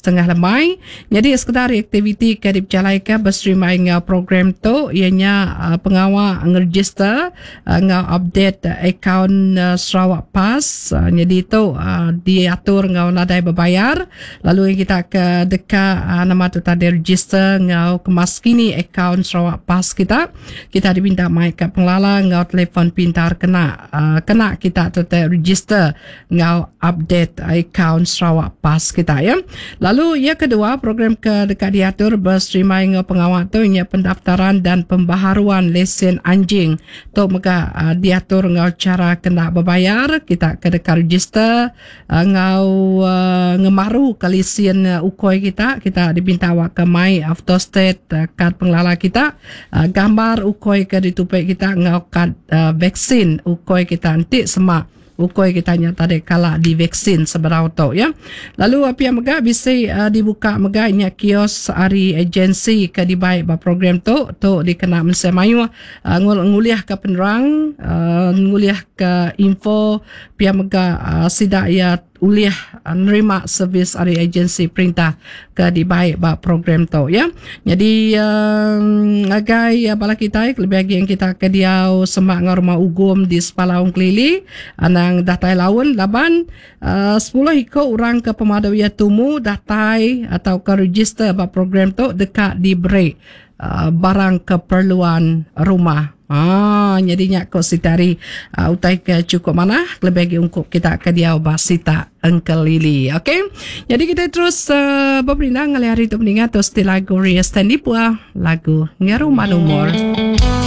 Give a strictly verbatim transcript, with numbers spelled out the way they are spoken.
setengah lemai. Jadi sekedar aktiviti ke dipejalaika beserimbai enggau program tu iya nya uh, pengawa ngeregister uh, enggau update uh, akaun uh, Sarawak Pass. Uh, jadi tu uh, diatur enggau nadai berbayar. Lalu kita ke deka uh, nama tu tadi register enggau kemas kini akaun Sarawak Pass kita. Kita diminta mai ke pengelala enggau telefon pintar kena uh, kena kita tu register enggau update akaun Sarawak Pass kita ya. Lalu yang kedua program ke dekat diatur beserimbai enggau pengawal tu nya pendaftaran dan pembaharuan lesen anjing. Tu mega uh, diatur enggau cara kena berbayar. Kita ke dekat register enggau uh, ngemaru ke lesen uh, ukoi kita. Kita dipinta awak ke mai autostate uh, kad pengelala kita, uh, gambar ukoi ke ditupik kita enggau kad uh, vaksin ukoi kita nanti semak ukoi kita nya tadi kala divaksin seberau tu ya. Lalu apa yang mega bisa uh, dibuka mega nya kios ari agensi ke dibaik ba program tu tu dikena mensia mayuh uh, nguliah ke penerang, uh, nguliah ke info pia mega uh, sidak ya ulih uh, nerima servis ari agensi perintah ke dibaik ba program tu ya. Jadi um, agai uh, bala kita lebih lagi yang kita ke diau semak ngau rumah ugum di Sepalaung Kelili anang datai laun laban uh, sepuluh iko orang ke pemadu ia tumu datai atau ke register ba program tu dekat diberi uh, barang keperluan rumah. Ah, jadinya kok sitari uh, utai ke cukup mana lebih lagi ungkup kita ke diau basita Engkelili. Okey. Jadi kita terus uh, berperindang kali hari itu mendengar terus di lagu Ria Stanley Pua, lagu Ngeruman Umur.